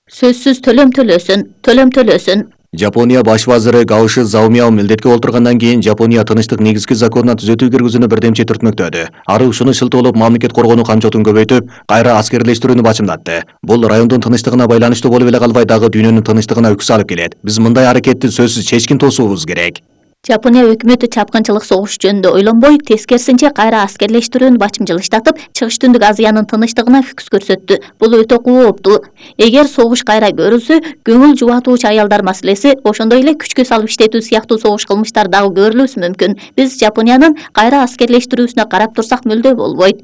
Сөзсүз төлөм төлөсүн. Жапония баш вазиры Гаоши Заумяо милдетке олтургандан кийин Жапония тынычтык негизги законуна түзөтүү киргизүүнү бирдемчи түртмөктөдү. Ары ушуну шылтоолоп мамлекет коргонуу камчотун көбөйтүп, кайра аскерлештирүүнү бачымдатты. Бул райондун тынычтыгына байланыштуу болуп эле калбай дагы дүйнөнүн тынычтыгына үкс алып келет. Биз мындай аракетти сөзсүз чечкин тосуубуз керек. Жапония өкмөтү чапкынчылык согуш жөнүндө ойлонбой, тескерисинче кайра аскерлештирүүнү бачымжылыштатып, Чыгыш Түндүк Азиянын тынычтыгына фокус көрсөттү. Бул өтө кооптуу. Эгер согуш кайра көрүлсө, көңүл жубатуучу аялдар маселеси, ошондой эле күчкө салып иштетүү сыяктуу согуш кылмыштар дагы көрүлүшү мүмкүн. Биз Жапониянын кайра аскерлештирүүсүнө карап турсак мүлдө болбойт.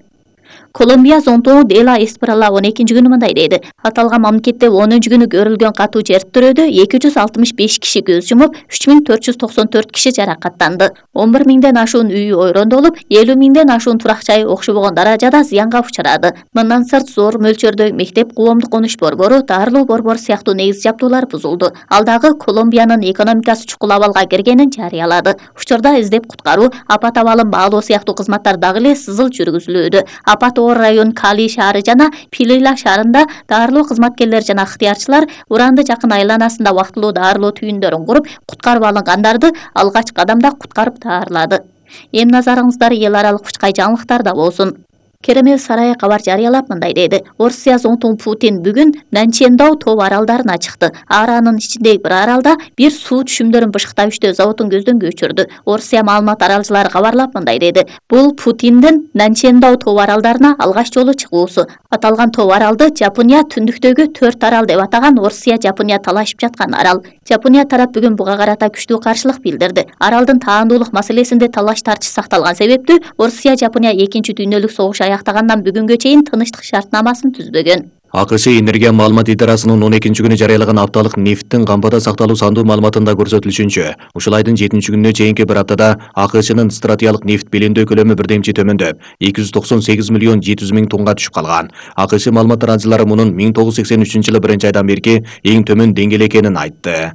Колумбия зонтону Дела Эспрала 12-күнү мындай деди. Аталган мамлекетте 10-күнү көрүлгөн катуу жер тирөөдө 265 киши көз жумуп, 3494 киши жаракаттанды. 11 миңден ашуун үй ойрондолуп, 50 миңден ашуун турак жай окшобогон даражада зыянга учурады. Мындан сырт зор мөлчөрдө мектеп, коомдук конуш борбору, дарылуу борбор сыяктуу негиз жабдуулар бузулду. Ал дагы Колумбиянын экономикасы чукул абалга киргенин жарыялады. Учурда издеп куткаруу, апат абалын баалоо сыяктуу кызматтар дагы эле сызыл жүргүзүлүүдө. Апат оор район Кали шаары жана Пилила шаарында дарылоо кызматкерлери жана ыктыярчылар уранды жакын айланасында убактылуу дарылоо түйүндөрүн куруп, куткарып алынгандарды алгач кадамда куткарып даарылады. Эми назарыңыздар эл аралык учкай жаңылыктарда болсун. Керемел сарайы кабар жарыялап мындай деди. Орусия зонтону Путин бүгүн Нанчендау тоо аралдарына чыкты. Аранын ичиндеги бир аралда бир суу түшүмдөрүн бышыктап иштөө заводун көздөн көчүрдү. Орусия маалымат аралчылары кабарлап мындай деди. Бул Путиндин Нанчендау тоо аралдарына алгач жолу чыгуусу. Аталган тоо аралды Жапония түндүктөгү 4 арал деп атаган Орусия Жапония талашып жаткан арал. Жапония тарап бүгүн буга карата күчтүү каршылык билдирди. Аралдын таандуулук маселесинде талаш тартыш сакталган себептүү Орусия Жапония 2 дүйнөлүк согуш аяктагандан бүгүнгө чейин тынычтык шартнамасын түзбөгөн. АКШ Энергия маалымат идарасынын 12-күнү жарыялаган апталык нефттин кампада сакталуу сандуу маалыматында көрсөтүлүшүнчө, ушул айдын 7-күнүнө чейинки бир аптада АКШнын стратегиялык нефт белемдөө көлөмү бирдемчи төмөндөп, 298 миллион 700 миң тоннага түшүп калган. АКШ маалымат аралчылары мунун 1983-жылы 1-айдан берки эң төмөн деңгээл экенин айтты.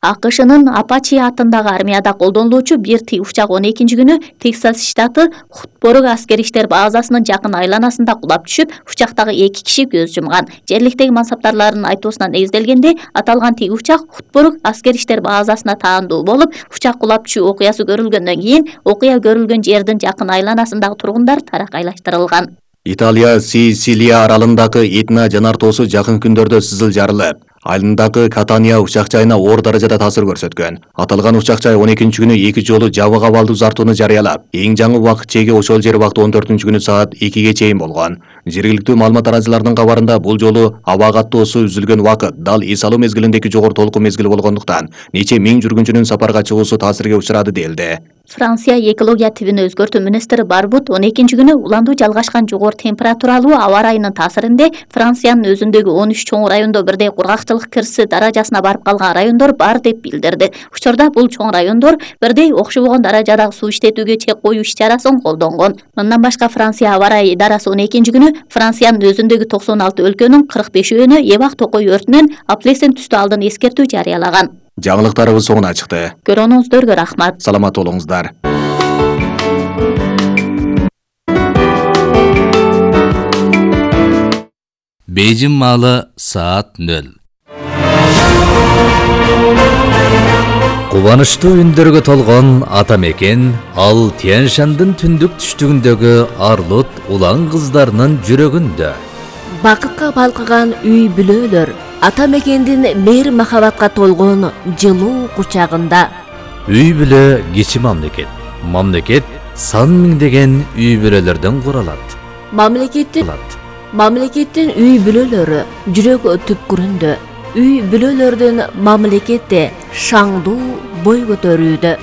АКШнын Апачи атындагы армияда колдонулуучу бир тигучак 12-күнү Тексас штаты Хутборук аскери иштер базасынын жакын айланасында кулап түшүп, учактагы 2 киши көз жумган. Жерликтеги мансаптарлардын айтуусуна негизделгенде, аталган тигучак Хутборук аскери иштер базасына таандуу болуп, учак кулап түшүү окуясы көрүлгөндөн кийин окуя көрүлгөн жердин жакын айланасындагы тургундар таракайлаштырылган. Италия Сицилия аралындагы Этна жанар тоосу жакын күндөрдө сызыл жарылып, айылындагы Катания учак жайына оор даражада таасир көрсөткөн. Аталган учак жай 12-күнү 2 жолу жабык абалдуу зартууну жарыялап, эң жаңы убакыт чеги ошол жер убакыт 14-күнү саат 2-ге чейин болгон. Жергиликтүү маалымат аралчыларынын кабарында бул жолу аба каттоосу үзүлгөн убакыт дал эс алуу мезгилиндеги жогору толкун мезгили болгондуктан нече миң жүргүнчүнүн сапарга чыгуусу таасирге учурады делди. Франция экология тибин өзгөртүү министри Барбут 12-күнү уландуу жалгашкан жогору температуралуу аба ырайынын таасиринде Франциянын өзүндөгү 13 чоң райондо бирдей кургакчылык кирси даражасына барып калган райондор бар деп билдирди. Учурда бул чоң райондор бирдей окшобогон даражадагы суу иштетүүгө чек коюу иш-чарасын колдонгон. Мындан башка Франция аба ырайы идарасы 12-күнү Франциянын өзүндөгү 96 өлкөнүн 45-өөнө эбак токой өртүнөн аплесен түстүү алдын эскертүү жарыялаган. Жаңылыктарыбыз соңуна чыкты. Көрүүңүздөргө рахмат. Саламат болуңуздар. Бейжин маалы саат 0. Кубанычтуу үндөргө толгон ата мекен ал Тянь-Шандын түндүк түштүгүндөгү арлут улан кыздарынын жүрөгүндө. Бакытка балкыган үй бүлөлөр ата мекендин мейир махабатка толгон жылуу кучагында. Үй бүлө кичи мамлекет. Мамлекет сан миңдеген үй бүлөлөрдөн куралат. Мамлекеттин үй бүлөлөрү жүрөк түпкүрүндө. Үй бүлөлөрдүн мамлекетте шаңдуу бой көтөрүүдө.